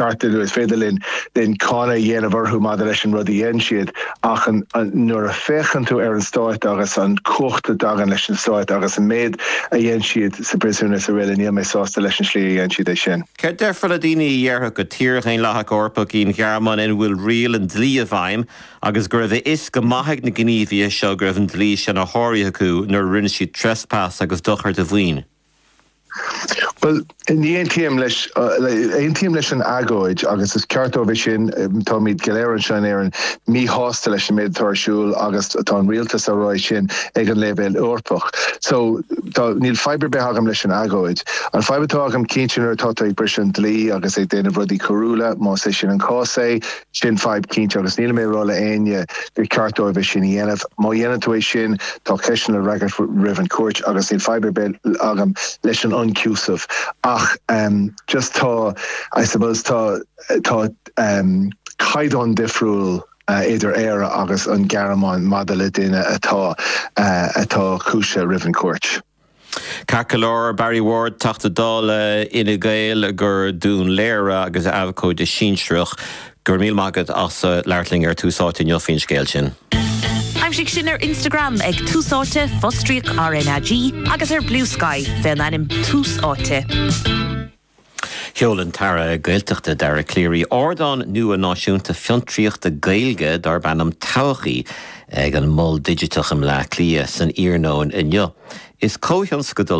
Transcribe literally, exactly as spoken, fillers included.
ceart is féidir linn linn cáineadh a dhéanamh orthu maidir leis an rud a dhein siad ach an, an, nuair a féachann tú ar an stát agus an cumhacht a thagann leis an stát agus an méid a dhein siad sa bpríosún is araile níl mé sásta leis an slí a dhein siad é sin. Céard déarfá le daoine a déarfadh gur tír dhaonlathach Eorpach í an Ghearmáin ina bhfuil riail an dlí i bhfeidhm agus go raibh a fhios go maith ag na gníomhaithe seo go raibh an dlí sin á shárú acu nuair a rinne siad trespass agus dochar do mhaoin. Well ní aontaím leis aontaím leis an agóid agus is ceart dóibh sin táimid go léir anseo in Éirinn míshásta leis an méid atá ar siúl agus tá an rialtas á rá sin ag an leibhéal Eorpach. So tá níl fadhb ar bith agam leis an agóid. An fadhb atá agam cinnte nuair atá ag briseadh an dlí agus ag déanamh rudaí coiriúla más é sin an cás é sin fadhb cinnte agus níl mé ag rá le éinne gur ceart dóibh sin a dhéanamh. Má dhéanann tú é sin tá ceist le freagairt roimh an cúirt agus níl fadhb ar bith agam leis an ionchúiseamh. ach um, just tá I suppose tá tá um, caighdeán difriúil uh, idir Éire agus an Ghearmáin maidir le duine atá uh, atá cúisithe roimh an cúirt. Ceart go leor Barry Ward Teachta Dála Fhine Gael go Dún Laoghaire agus abhcóide sinsearach go raibh míle maith agat as labhairt linn ar Tús Áite inniu faoin scéal sin. Aimsigh sinn ar Instagram ag Tús Áite fostríoc RnaG agus ar Bluesky fén ainm Tús Áite. Sheol an tAire Gaeltachta Dara Calleary ardán nua náisiúnta fiontraíochta Gaeilge darb ainm Todhchaí ag an Mol Digiteach i mBleá Cliath san iarnóin inniu. Is comhthionscadal